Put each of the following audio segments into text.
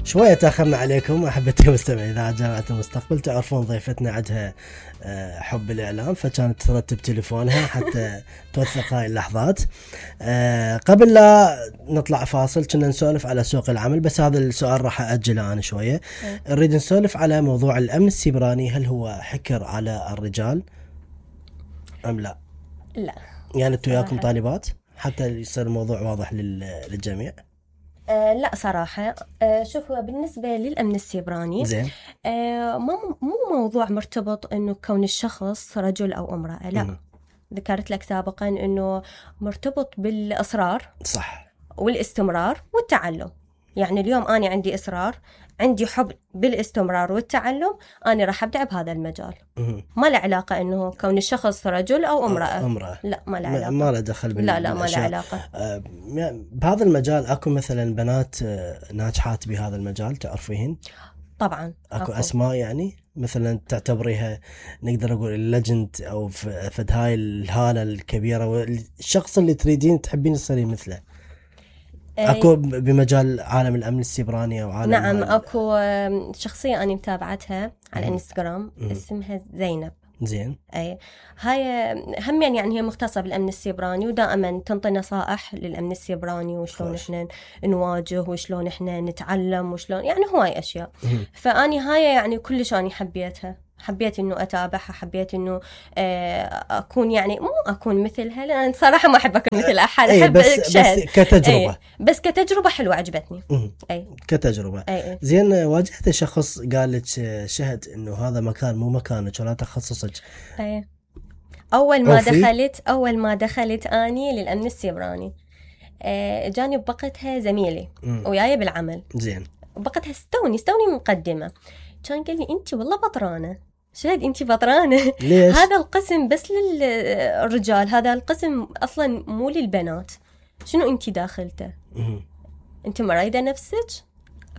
شوية تأخرنا عليكم أحبتي المستمعين إذاعة جامعة المستقبل. تعرفون ضيفتنا عندها حب الإعلام، فكانت ترتب تليفونها حتى توثق هاي اللحظات. قبل لا نطلع فاصل كنا نسولف على سوق العمل، بس هذا السؤال راح أجله أنا شوية. نريد نسولف على موضوع الأمن السيبراني، هل هو حكر على الرجال أم لا؟ لا يعني أنتوا وياكم طالبات حتى يصير الموضوع واضح للجميع. لا صراحة شوف، هو بالنسبة للأمن السيبراني زين، مو موضوع مرتبط إنه كون الشخص رجل أو امرأة، لا. ذكرت لك سابقا إنه مرتبط بالإصرار، صح، والاستمرار والتعلم. يعني اليوم أنا عندي إصرار، عندي حب بالاستمرار والتعلم، أنا راح أبدع بهذا المجال. ما له علاقة إنه كون الشخص رجل أو امرأة. لا ما له علاقة، ما له دخل لا ما له علاقة. بهذا المجال أكو مثلا بنات ناجحات بهذا المجال تعرفيهن؟ طبعا أكو أسماء يعني مثلا تعتبريها نقدر نقول الليجند أو فد هاي الهالة الكبيرة والشخص اللي تريدين تحبين تصيرين مثله؟ أكو بمجال عالم الأمن السيبراني أو عالم؟ نعم أكو شخصية أنا متابعتها على الانستغرام اسمها زينب. زين، أي هاي هم يعني هي مختصة بالأمن السيبراني، ودائما تنطي نصائح للأمن السيبراني وشلون إحنا نواجه وشلون إحنا نتعلم وشلون يعني هواي أشياء. فأني هاي يعني كلش أنا حبيت إنه أتابعها، حبيت إنه أكون يعني مو أكون مثلها، لأن صراحة ما أحب أكون مثل أحد. أحب بس كتجربة. بس كتجربة حلوة عجبتني. كتجربة. زين، واجهت شخص قال لك شهد إنه هذا مكان مو مكانك ولا تخصصك؟ أول ما دخلت أني للأمن السيبراني جاني بوقتها زميلي وياي بالعمل. زين، بوقتها استوني مقدمة، كان قال لي أنت والله بطرانة. شهد أنت بطرانة. ليش؟ هذا القسم بس للرجال، هذا القسم أصلا مو للبنات. شنو أنت داخلته؟ أنت مريضة نفسك؟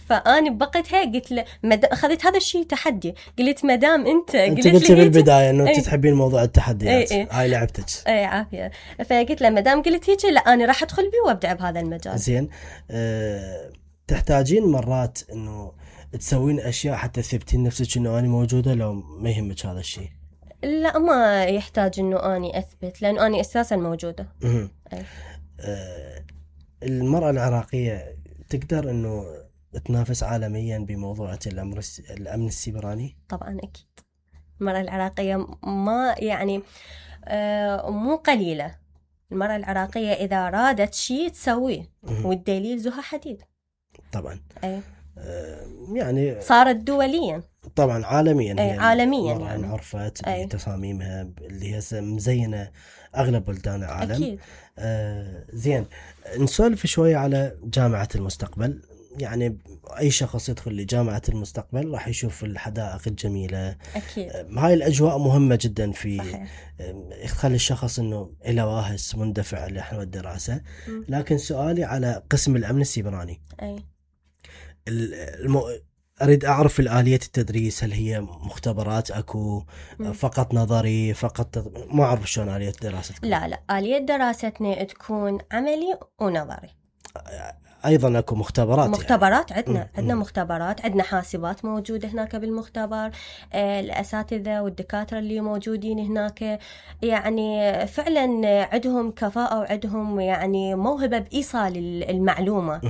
فأنا بوقتها قلت له أخذت هذا الشيء تحدي، قلت مدام أنت قلت لي بالبداية إنه أنت تحبين موضوع التحديات. هاي لعبتك. عافية. فقلت له مدام قلت هيك، لا أنا راح أدخل بيه وأبدع بهذا المجال. زين، تحتاجين مرات إنه تسوين أشياء حتى تثبتين نفسك إنه أنا موجودة لو ما يهمك هذا الشيء؟ لا ما يحتاج إنه أنا أثبت، لأنه أنا أساسا موجودة. المرأة العراقية تقدر إنه تنافس عالميا بموضوع الأمن السيبراني؟ طبعا أكيد. المرأة العراقية ما يعني مو قليلة. المرأة العراقية إذا أرادت شيء تسويه، والدليل زها حديد. طبعا. يعني صارت دوليا، طبعا عالميا. عالميا يعني انعرفت بتصاميمها اللي هي مزينة أغلب بلدان العالم. أكيد. زين، نسولف شوية على جامعة المستقبل. يعني أي شخص يدخل لجامعة المستقبل راح يشوف الحدائق الجميلة. أكيد. هاي الأجواء مهمة جدا في صحيح. يخلي الشخص إنه إلى واهس مندفع لنحو الدراسة. لكن سؤالي على قسم الأمن السيبراني. أريد أعرف الآلية التدريس، هل هي مختبرات أكو فقط نظري فقط؟ ما أعرف شلون آلية دراستكم. لا آلية دراستنا تكون عملي ونظري. أيضا أكو مختبرات يعني. عندنا مختبرات، عندنا حاسبات موجودة هناك بالمختبر. الأساتذة والدكاترة اللي موجودين هناك يعني فعلا عندهم كفاءة وعندهم يعني موهبة بإيصال المعلومة.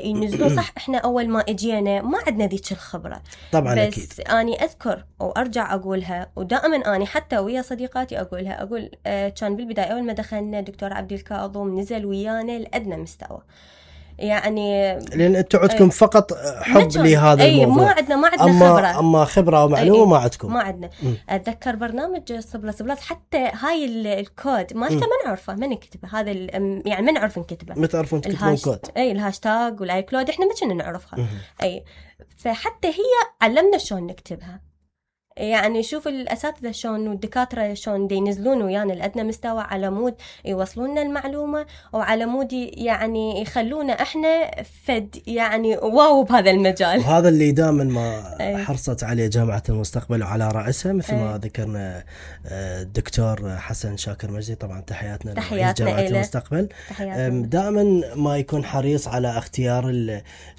ينزلون صح. إحنا أول ما إجينا ما عندنا ذيك الخبرة طبعا. بس أكيد. أنا أذكر وأرجع أقولها، ودائما أنا حتى ويا صديقاتي أقول كان بالبداية أول ما دخلنا دكتور عبد الكاظم نزل ويانا لأدنى مستوى. يعني لأن أنتوا عندكم فقط حب لهذا الموضوع. ما عندنا خبرة. أما خبرة ومعلومة ما عندكم. ما عندنا. أتذكر برنامج صبلات حتى هاي الكود مالته ما نعرفه، ما نكتبه. هذا يعني ما نعرف نكتبه. ما تعرفون تكتبون كود؟ الهاشتاج والاي كلود إحنا ما كنا نعرفها. فحتى هي علمنا شلون نكتبها. يعني شوف الأساتذة شلون والدكاترة شلون ينزلون ويانا لأدنى مستوى على مود يوصلون المعلومة، وعلى مود يعني يخلونا احنا فد يعني واو بهذا المجال. وهذا اللي دائما ما حرصت عليه جامعة المستقبل وعلى رأسها مثل ما ذكرنا الدكتور حسن شاكر مجدي، طبعا تحياتنا لجامعة المستقبل. دائما ما يكون حريص على اختيار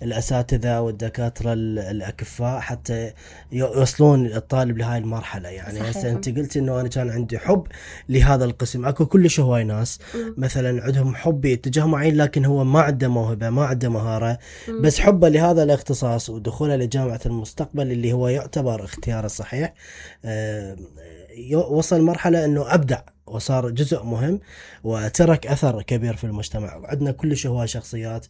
الأساتذة والدكاترة الأكفاء حتى يوصلون الطالب لهاي المرحلة. يعني هسه انت قلت انه انا كان عندي حب لهذا القسم، اكو كلش هواي ناس مثلا عندهم حب اتجاه معين لكن هو ما عنده موهبة ما عنده مهارة، بس حبه لهذا الاختصاص ودخوله لجامعة المستقبل اللي هو يعتبر اختيار الصحيح وصل مرحلة انه ابدع وصار جزء مهم وترك اثر كبير في المجتمع. وعندنا كلش هواي شخصيات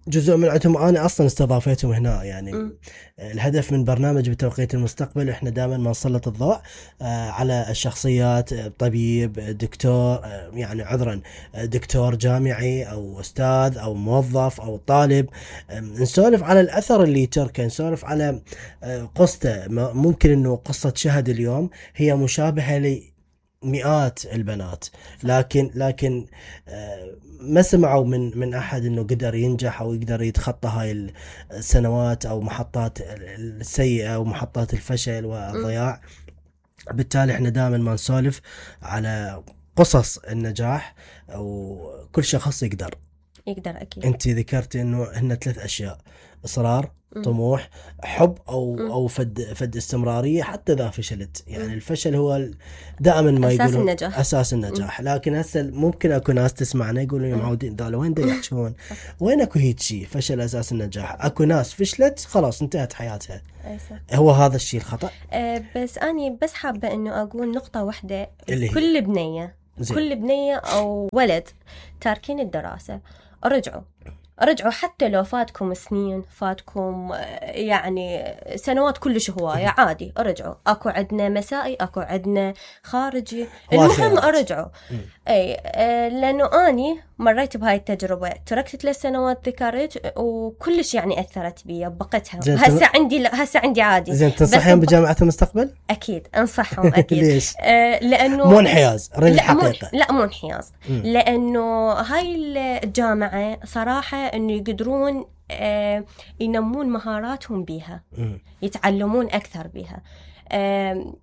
جزء من عندهم انا اصلا استضافيتهم هنا. يعني الهدف من برنامج بتوقيت المستقبل احنا دائما ما نسلط الضوء على الشخصيات، طبيب، دكتور، يعني عذرا دكتور جامعي او استاذ او موظف او طالب، نسولف على الاثر اللي تركه، نسولف على قصته. ممكن انه قصة شهد اليوم هي مشابهة لمئات البنات، لكن ما سمعوا من أحد أنه قدر ينجح أو يقدر يتخطى هاي السنوات أو محطات السيئة ومحطات الفشل والضياع. بالتالي احنا دائما ما نسولف على قصص النجاح، وكل شخص يقدر أكيد. أنت ذكرت أنه هن 3 أشياء: إصرار، طموح، حب او فد استمراريه حتى اذا فشلت. يعني الفشل هو دائما ما يقولون اساس النجاح. لكن هسه ممكن اكو ناس تسمعنا يقولون يا معودين ذا وين دا يحكون، وين اكو هيك شيء فشل اساس النجاح؟ اكو ناس فشلت خلاص انتهت حياتها. هو هذا الشيء الخطا. بس اني بس حابه انه اقول نقطه واحده، كل بنيه او ولد تاركين الدراسه رجعوا حتى لو فاتكم سنين، فاتكم يعني سنوات كلش هواية، عادي رجعوا. اكو عندنا مسائي، اكو عندنا خارجي، المهم ارجعوا. لانه اني مريت بهاي التجربة، تركت 3 سنوات ذكرت وكلش يعني اثرت بي بقتها. هسه عندي عادي. زين تنصحين بجامعة المستقبل؟ اكيد انصحهم اكيد. ليش؟ لانه مو انحياز، ريد الحقيقة. لا مو انحياز، لانه هاي الجامعة صراحة انه يقدرون ينمون مهاراتهم بيها، يتعلمون اكثر بيها.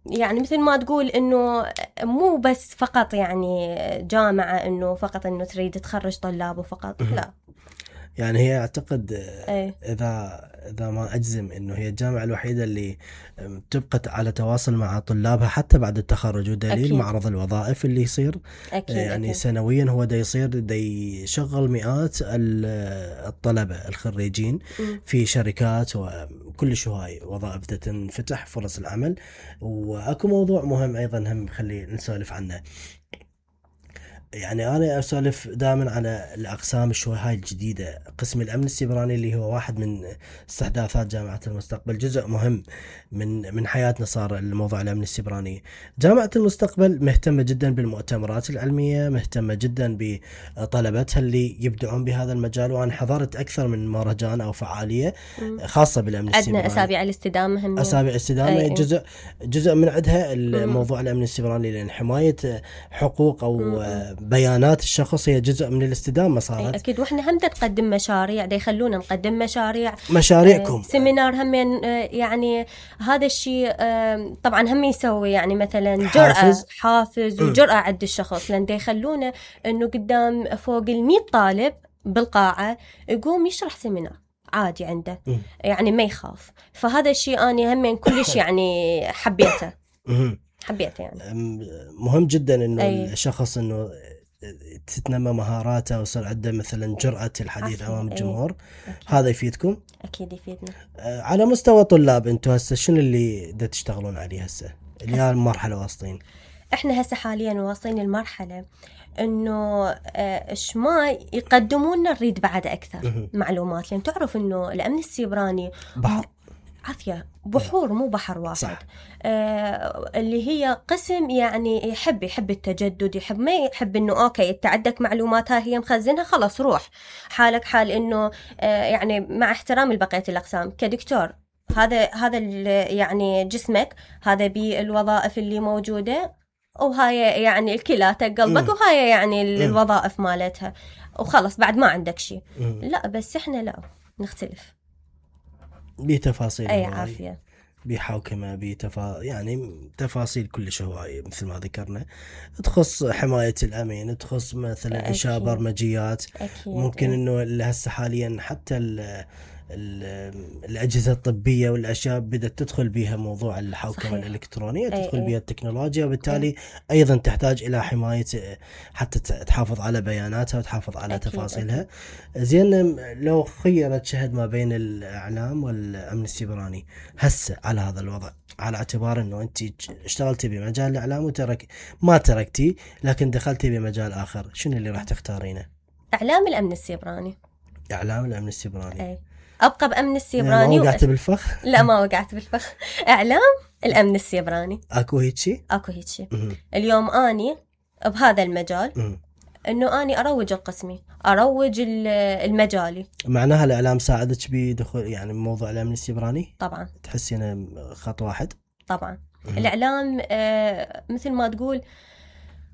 يعني مثل ما تقول انه مو بس فقط يعني جامعة انه فقط انه تريد تخرج طلاب وفقط، لا. يعني هي اعتقد اذا ما اجزم انه هي الجامعة الوحيدة اللي تبقى على تواصل مع طلابها حتى بعد التخرج، ودليل أكيد. معرض الوظائف اللي يصير أكيد يعني أكيد. سنويا هو دا يشغل مئات الطلبة الخريجين في شركات وكل هاي وظائف تنفتح فرص العمل. واكو موضوع مهم ايضا هم خلي نسولف عنه. يعني أنا أسولف دائما على الأقسام شوي هاي الجديدة. قسم الأمن السيبراني اللي هو واحد من استحداثات جامعة المستقبل، جزء مهم من حياتنا صار الموضوع الأمن السيبراني. جامعة المستقبل مهتمة جدا بالمؤتمرات العلمية، مهتمة جدا بطلبتها اللي يبدعون بهذا المجال. وأنا حضرت أكثر من مهرجان أو فعالية خاصة بالأمن السيبراني. عندنا أسابيع الاستدامة هم أسابيع الاستدامة جزء من عندها الموضوع الأمن السيبراني، لأن حماية حقوق أو بيانات الشخص هي جزء من الاستدامة صارت. أكيد. وإحنا هم نقدم مشاريع، يخلونا نقدم مشاريعكم سيمينار هم يعني هذا الشيء طبعا هم يسوي يعني مثلا حافز وجرأة عند الشخص، لأن يخلونا إنه قدام فوق 100 طالب بالقاعة يقوم يشرح سيمينار عادي عنده، يعني ما يخاف. فهذا الشيء أنا هم كلش يعني حبيته يعني. مهم جدا إنه الشخص إنه تتنمى مهاراته ويصير عنده مثلا جرأة الحديث أمام الجمهور. هذا يفيدكم؟ أكيد يفيدنا. على مستوى طلاب أنتوا هسه شنو اللي دا تشتغلون عليه هسه اللي هي المرحلة واصلين؟ إحنا هسه حاليا واصلين المرحلة إنه ما يقدمون لنا نريد بعد أكثر معلومات، لأن تعرف إنه الأمن السيبراني بحر عافية، بحور مو بحر واحد. صح. اللي هي قسم يعني يحب التجدد، ما يحب انه اوكي انت عندك معلوماتها هي مخزنها خلاص روح حالك حال. انه يعني مع احترام لبقية الاقسام كدكتور هذا يعني جسمك، هذا بالوظائف اللي موجودة، وهاي يعني الكلى قلبك، وهاي يعني الوظائف مالتها، وخلص بعد ما عندك شيء. لا بس احنا لا نختلف بتفاصيل اي هواي. عافية، بحوكمة يعني تفاصيل كلش هواية مثل ما ذكرنا، تخص حماية الأمين، تخص مثلا إنشاء برمجيات. أكيد. ممكن إنه هسه حاليا حتى الأجهزة الطبية والأشياء بدأت تدخل بها موضوع الحوكمة الإلكترونية، تدخل بها التكنولوجيا، وبالتالي أيضا تحتاج إلى حماية حتى تحافظ على بياناتها وتحافظ على تفاصيلها. زين، لو خيرت شهد ما بين الإعلام والأمن السيبراني هسه على هذا الوضع، على اعتبار أنه أنت اشتغلتي بمجال الإعلام ما تركتي لكن دخلتي بمجال آخر، شنو اللي راح تختارينه؟ إعلام الأمن السيبراني. إعلام الأمن السيبراني. أبقى بأمن السيبراني. ما وقعت بالفخ؟ لا ما وقعت بالفخ. إعلام الأمن السيبراني. أكو هيك شيء اليوم أني بهذا المجال، إنه أني أروج القسمي، أروج المجالي. معناها الإعلام ساعدك بدخول يعني موضوع الأمن السيبراني؟ طبعا. تحسينه خط واحد؟ طبعا. الإعلام مثل ما تقول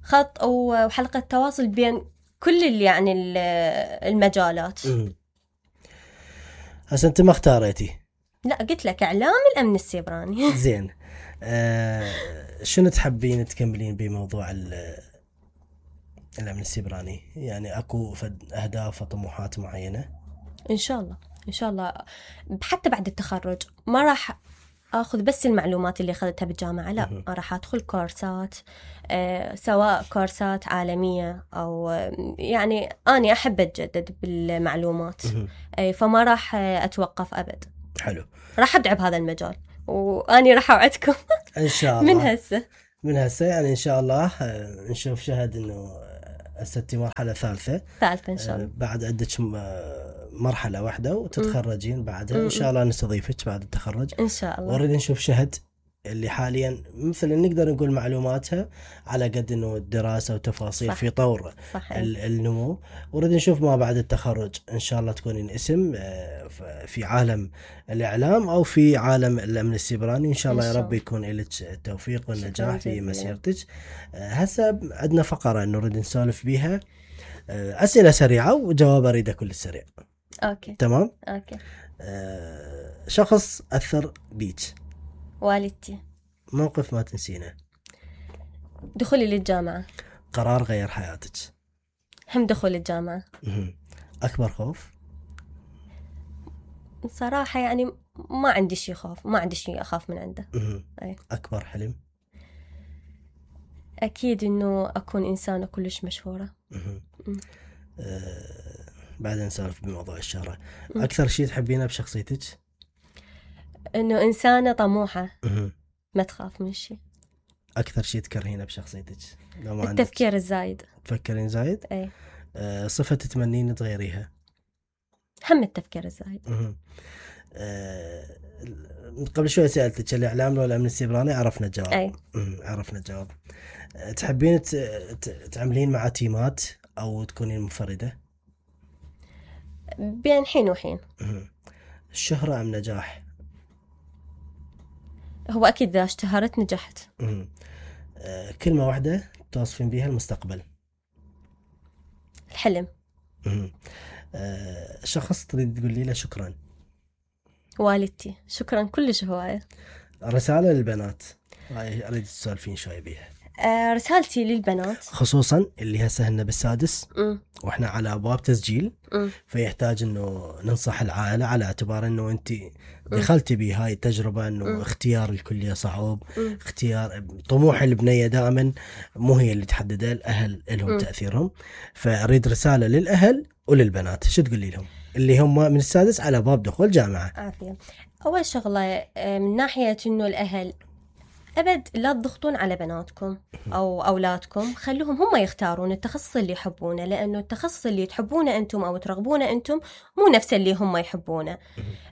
خط وحلقة تواصل بين كل يعني المجالات. هسه أنت ما اختاريتي؟ لا قلت لك إعلام الأمن السيبراني. زين، شنو تحبين تكملين بموضوع الأمن السيبراني؟ يعني أكو أهداف وطموحات معينة؟ إن شاء الله حتى بعد التخرج ما راح أخذ بس المعلومات اللي أخذتها بالجامعة، لا راح أدخل كورسات، سواء كورسات عالمية أو يعني أنا أحب أتجدد بالمعلومات، فما راح أتوقف أبد. حلو، راح أبدع بهذا المجال، وأني راح أوعدكم إن شاء الله من هسه يعني إن شاء الله نشوف شهد إنه هسه مرحلة ثالثة إن شاء الله، بعد عندك مرحلة واحدة وتتخرجين بعدها إن شاء الله نستضيفك بعد التخرج إن شاء الله. ونريد نشوف شهد اللي حاليا مثلا نقدر نقول معلوماتها على قد انه الدراسة وتفاصيل في طور النمو، ونريد نشوف ما بعد التخرج ان شاء الله تكونين اسم في عالم الاعلام او في عالم الامن السيبراني، وان شاء الله يا رب يكون لك التوفيق والنجاح في مسيرتك. هسه عندنا فقرة نريد نسولف بيها، اسئلة سريعة وجواب اريده كل سريع. اوكي تمام. اوكي. شخص اثر بيك؟ والدتي. موقف ما تنسينه؟ دخولي للجامعة. قرار غير حياتك؟ هم دخول الجامعة. أكبر خوف؟ صراحة يعني ما عندي شيء خوف، ما عندي شيء أخاف من عنده. أي. أكبر حلم؟ أكيد إنه أكون إنسانة كلش مشهورة. بعدين نسولف بموضوع الشهرة. أكثر شيء تحبينه بشخصيتك؟ إنه إنسانة طموحة، ما تخاف من شيء. أكثر شيء تكرهينه بشخصيتك؟ لو ما التفكير الزايد. تفكرين زايد؟ أي. صفة تتمنين تغيريها؟ هم التفكير الزايد. قبل شوي سألتك الإعلام ولا الأمن السيبراني، عرفنا الجواب. أي. عرفنا الجواب. تحبين تعملين مع تيمات أو تكونين منفردة؟ بين حين وحين. الشهرة أم نجاح؟ هو أكيد إذا اشتهرت نجحت. كلمة واحدة توصفين بها المستقبل؟ الحلم. شخص تريد تقولي له شكرا؟ والدتي، شكرا كلش هواية. رسالة للبنات أريد تسولفين شوي بيها. رسالتي للبنات خصوصا اللي هسه هن بالسادس واحنا على ابواب تسجيل، فيحتاج انه ننصح العائله على اعتبار انه انت دخلتي بهاي التجربه، انه اختيار الكليه صعب، اختيار طموح البنيه دائما مو هي اللي تحددها، الاهل لهم تاثيرهم. فاريد رساله للاهل وللبنات، شو تقولي لهم اللي هم من السادس على باب دخول جامعه؟ عافيه. اول شغله من ناحيه انه الاهل أبد لا تضغطون على بناتكم أو أولادكم، خلوهم هم يختارون التخصص اللي يحبونه، لأنه التخصص اللي تحبونه أنتم أو ترغبونه أنتم مو نفس اللي هم يحبونه،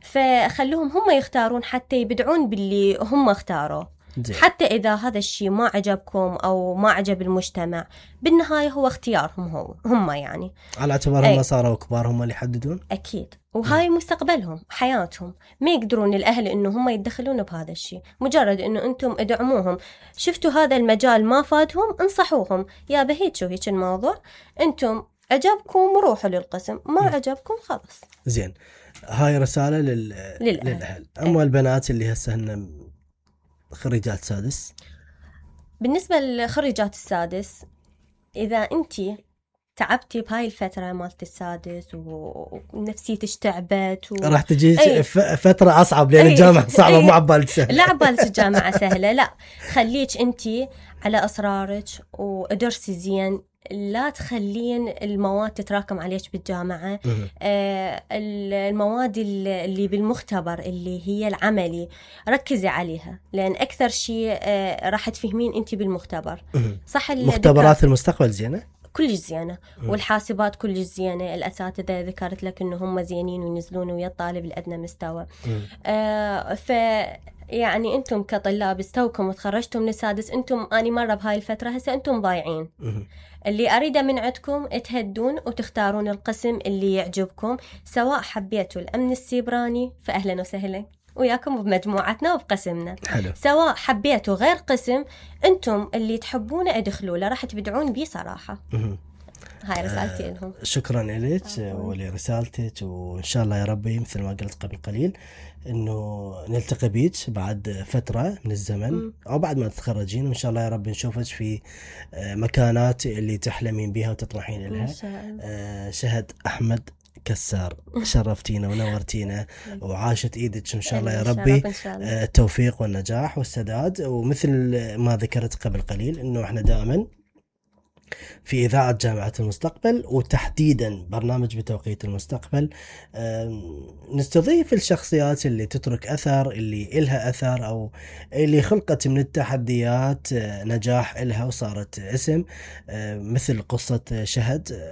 فخلوهم هم يختارون حتى يبدعون باللي هم اختاروه. حتى إذا هذا الشيء ما عجبكم أو ما عجب المجتمع، بالنهاية هو اختيارهم هم يعني، على اعتبار هم صاروا كبار هم اللي يحددون. أكيد، وهاي مستقبلهم حياتهم، ما يقدرون الأهل إنه هم يتدخلون بهذا الشيء. مجرد إنه أنتم ادعموهم، شفتوا هذا المجال ما فادهم انصحوهم يا بهيك شو هيك الموضوع، أنتم عجبكم روحوا للقسم، ما عجبكم خلاص. زين، هاي رسالة للأهل. أما البنات اللي هسه هن خريجات سادس، بالنسبة لخريجات السادس، إذا أنتي تعبتي بهاي الفترة مالت السادس ونفسيتك تعبت راح تجي فترة أصعب، لأن الجامعة صعبة، مو عبالك سهلة. لا عبالك الجامعة سهلة، لا، خليك أنتي على أسرارك ودرسي زين، لا تخلين المواد تتراكم عليك بالجامعة. المواد اللي بالمختبر اللي هي العملي ركزي عليها، لأن أكثر شيء راح تفهمين أنتي بالمختبر. صح، مختبرات المستقبل زينة، كلش زينة، والحاسبات كلش زينة، الأساتذة ذكرت لك إنه هم زينين وينزلون ويا الطالب الأدنى مستوى. يعني أنتم كطلاب استوكم وتخرجتم من السادس، أنتم أني مرة بهاي الفترة هسه أنتم ضايعين. اللي أريده من عندكم تهدون وتختارون القسم اللي يعجبكم، سواء حبيتوا الأمن السيبراني فأهلا وسهلا وياكم بمجموعتنا وبقسمنا. حلو. سواء حبيتوا غير قسم، أنتم اللي تحبونه ادخلوا له، راح تبدعون بيه صراحة. هاي رسالتي لهم. شكرا لك ولرسالتك، وإن شاء الله يا ربي مثل ما قلت قبل قليل إنه نلتقي بيك بعد فترة من الزمن أو بعد ما تتخرجين، وإن شاء الله يا رب نشوفك في مكانات اللي تحلمين بها وتطمحين لها. شهد أحمد كسار، شرفتينا ونورتينا وعاشت ايدك ان شاء الله يا ربي. التوفيق والنجاح والسداد. ومثل ما ذكرت قبل قليل انه احنا دائما في إذاعة جامعة المستقبل، وتحديدا برنامج بتوقيت المستقبل، نستضيف الشخصيات اللي تترك أثر، اللي إلها أثر أو اللي خلقت من التحديات نجاح إلها وصارت اسم، مثل قصة شهد.